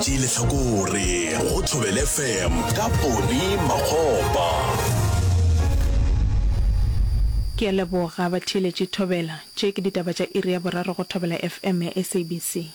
Tšee lehlakore go Thobela FM ka Poni Makgopa. Ke a leboga batheeletši Thobela. Tše ke ditaba tša iri ya boraro go Thobela FM ya SABC.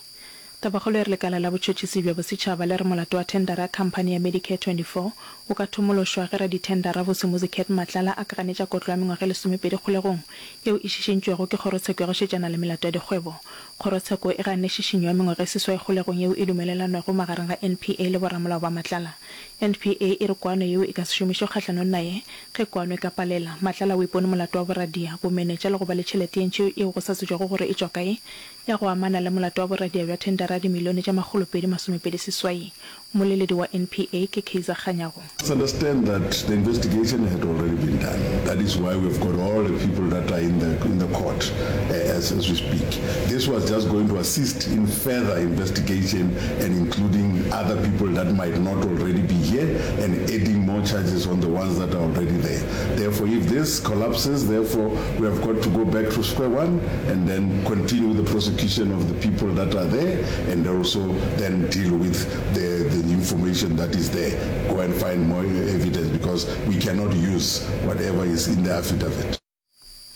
Tabakgolo e re lekala la botšhotšhisi bja bosetšhaba le re molato wa thendara ya khamphani ya Medicare 24 o ka thomološwa ge radithendara Vusimuzi Cat Matlala a ka ganetša kotlo ya mengwaga e lesomepedi kgolegong yeo e šišintšwego ke kgorotsheko ya go šetšana le melato ya dikgwebo. Kgorotsheko e ganne šišinyo ya mengwaga e seswai kgolegong yeo e dumelelanwego magareng ga NPA le boramolao ba Matlala. NPA e re kwano yeo e ka se šomišwe kgahlanong naye ge kwano e ka palela. Matlala o ipone molato wa boradia, bomenetša le go ba le tšhelete ye ntši yeo go sa tsebjego gore e tšwa kae ya go amana le molato wa boradia bja thendara ya dimilione tše makgolopedi masomepedi seswai. Mmoleledi wa NPA ke Kaizer Kganyago. Must understand that the investigation had already been done. That is why we've got all the people that are in the, in the court as, as we speak. This was just going to assist in further investigation and including other people that might not already be here and adding more charges on the ones that are already there. Therefore, if this collapses, therefore, we have got to go back to square one and then continue the prosecution of the people that are there and also then deal with the, the information that is there. Go and find more evidence because we cannot use whatever is in the affidavit.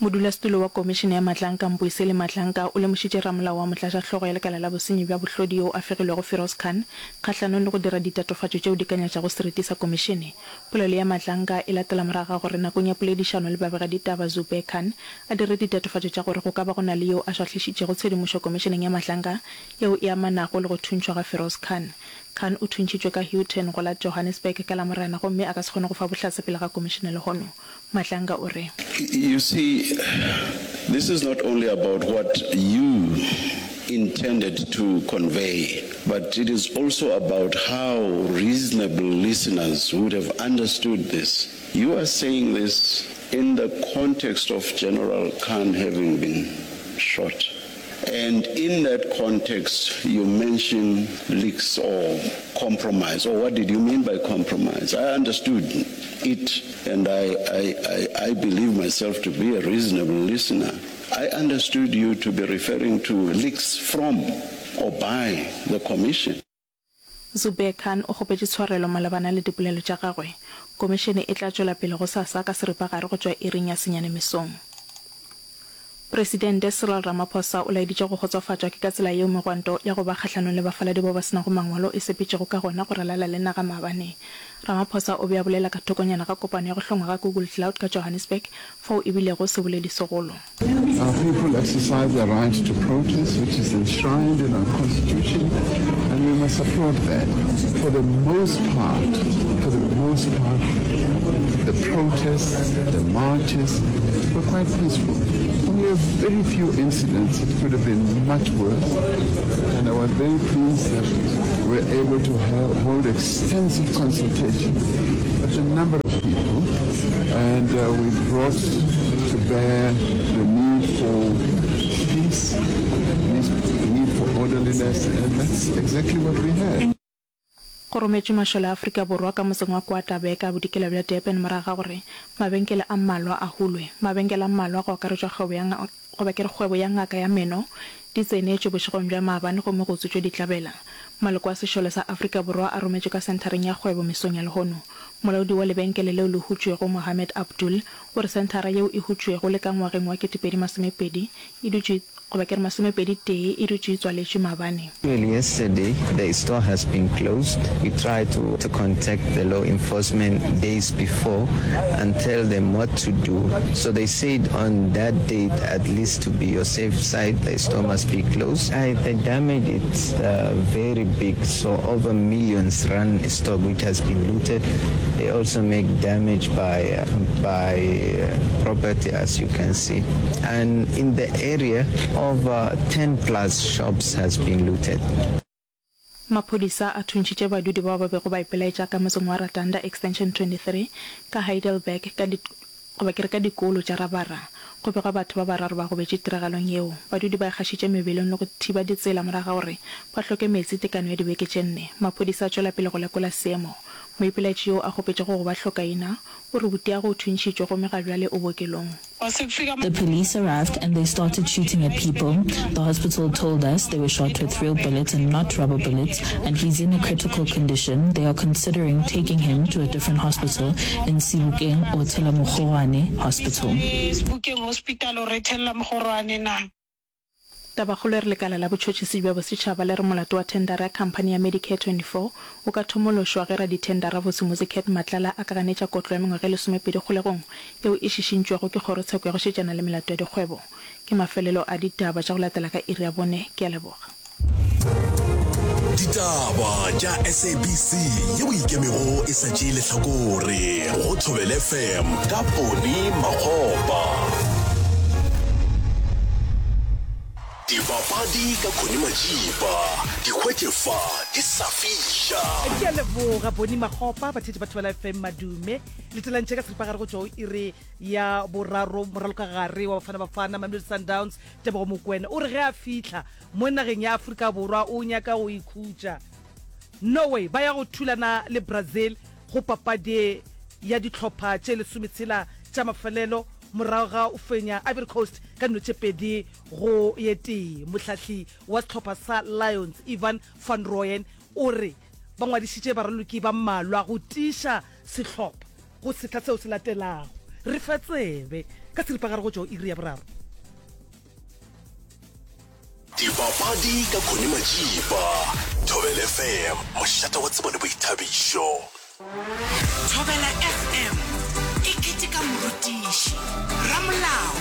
Modulasetulo wa Komišene ya Matlanka, Mbuyiseli Matlanka, o lemošitše ramolao wa motlatšahlogo ya lekala la bosenyi bja bohlodi yo a fegilwego Firoz Khan kgahlanong le go dira ditatofatšo tšeo di ka nyatšago seriti sa komišene. Polelo ya Matlanka e latela morago ga gore nakong ya poledišano le babegaditaba Zubair Khan a dire ditatofatšo tša gore go ka ba go na le yo a šwahlišitšego tshedimošo komišeneng ya Matlanka yeo e amanago le go thuntšhwa ga Firoz Khan. Khan o thuntšhitšwe ka Houghton go la Johannesburg ka Lamorena gomme a ka se kgone go fa bohlatse pele ga komišene lehono. Matlanga o re. You see, this is not only about what you intended to convey, but it is also about how reasonable listeners would have understood this. You are saying this in the context of General Khan having been shot. And in that context, you mention leaks or compromise. Or what did you mean by compromise? I understood it, and I, I, I, I believe myself to be a reasonable listener. I understood you to be referring to leaks from or by the commission. Zubair Khan o kgopetše tshwarelo malebana le dipolelo tša gagwe. Komišene e tla tšwela pele gosasa ka seripagare go tšwa iring ya senyane mesong. Presidente Cyril Ramaphosa o laeditše go kgotsofatšwa ke ka tsela yeo megwanto ya go ba kgahlanong le bafaladi bao ba se nago mangwalo e sepetšego ka gona go ralala le naga maabane. Ramaphosa o be a bolela ka thokonyana ga kopano ya go hlongwa ga Google Cloud ka Johannesburg fao e bilego seboledi segolo. Our people exercise their right to protest, which is enshrined in our constitution, and we must applaud that. For the most part, for the most part, the protests, the marches were quite peaceful. Only a very few incidents, it could have been much worse. And I was very pleased that we were able to have, hold extensive consultation with a number of people, and uh, we brought to bear the need for peace, need for orderliness, and that's exactly what we had. Go rometšwe mašole a Afrika Borwa ka motseng wa Kwa-Tabeka, bodikela bja Durban morago ga gore mabenkele a mmalwa a hulwe. Mabenkele a mmalwa go akaretšwa kgwebo ya goba ke re kgwebo ya ngaka ya meno di tsenetšwe bošegong bja maabane gomme go utswitšwe ditlabela. Maloko a sešole sa Afrika Borwa a rometšwe ka senthareng ya kgwebo mesong ya lehono. Molaodi wa lebenkele leo le hutšwego Mohammed Abdul o re senthara yeo e hutšwego le ka ngwageng wa 2020 e dutše goba ke re masomepedi tee e dutše e tswaletšwe maabane. Well yesterday the store has been closed, we tried to to contact the law enforcement days before and tell them what to do so they said on that date at least to be your safe side the store must be closed. I the damage it's uh, very big so over millions rand stock which has been looted they also make damage by by property as you can see and in the area over 10 plus shops has been looted. Maphodisa a thuntšhitše badudi bao ba bego ba ipelaetša ka motseng wa Ratanda Extension 23 ka Heidelberg ka di goba ke re ka dikolo tša rabara. Go begwa batho ba bararo ba gobetše tiragalong yeo. Badudi ba ikgašitše mebelong le go thiba ditsela morago ga gore ba hloke meetse tekano ya dibeke tše nne. Maphodisa a tšwela pele go lekola seemo. Moipelaetši yoo a kgopetšego go ba hlokaina, o re butiagwe o thuntšhitšwe gomme ga bjale o bookelong. The police arrived and they started shooting at people. The hospital told us they were shot with real bullets and not rubber bullets and he's in a critical condition. They are considering taking him to a different hospital in Sebokeng or Thela-Mogorwane Hospital. Tabakgolo e re lekala la botšhotšhisi bja bosetšhaba le re molato wa thendara ya khamphani ya Medicare 24 o ka thomološwa ge radithendara Vusimuzi Cat Matlala a ka ganetša kotlo ya mengwaga e lesomepedi kgolegong yeo e šišintšwego ke kgorotsheko ya go šetšana le melato ya dikgwebo. Ke mafelelo a ditaba tša go latela ka iri ya bone. Ke a leboga. Ditaba tša SABC yeo e ikemego e sa tšee lehlakore go Thobela FM ka Poni Makgopa. Dipapadi ka Connie Majiba, di hwetše fa di sa fiša. Ke a leboga Bonnie Makgopa, batheetši ba Thobela FM madume. Le tselantše ka seripagare go tšwa go iri ya boraro moralokagare wa Bafana Bafana Mamelodi Sundowns Tebogo Mokoena o re ge a fihla mo nageng ya Afrika Borwa o nyaka go ikhutša. Norway ba ya go thulana le Brazil go papadi ya dihlopha tše lesometshela tša mafelelo morago ga go fenya Ivory Coast ka dino tše 2 go ye tee. Mohlahli wa sehlopha sa Lions Ivan van Rooyen o re ba ngwadišitše baraloki ba mmalwa go tiiša sehlopha go sehla seo se latelago. Re fe tsebe ka seripagare go tšwa go iri ya boraro. Dipapadi ka Connie Majiba, Thobela FM, mošate wa tsebo le boithabišo. Thobela FM e keteka morutiši, ramolao,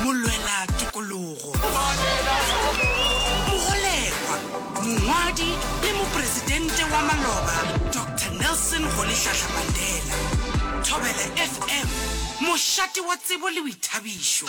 molwela tokologo, mogolegwa, mongwadi le mopresidente wa maloba Doctor Nelson Rolihlahla Mandela. Thobela FM, mošate wa tsebo le boithabišo.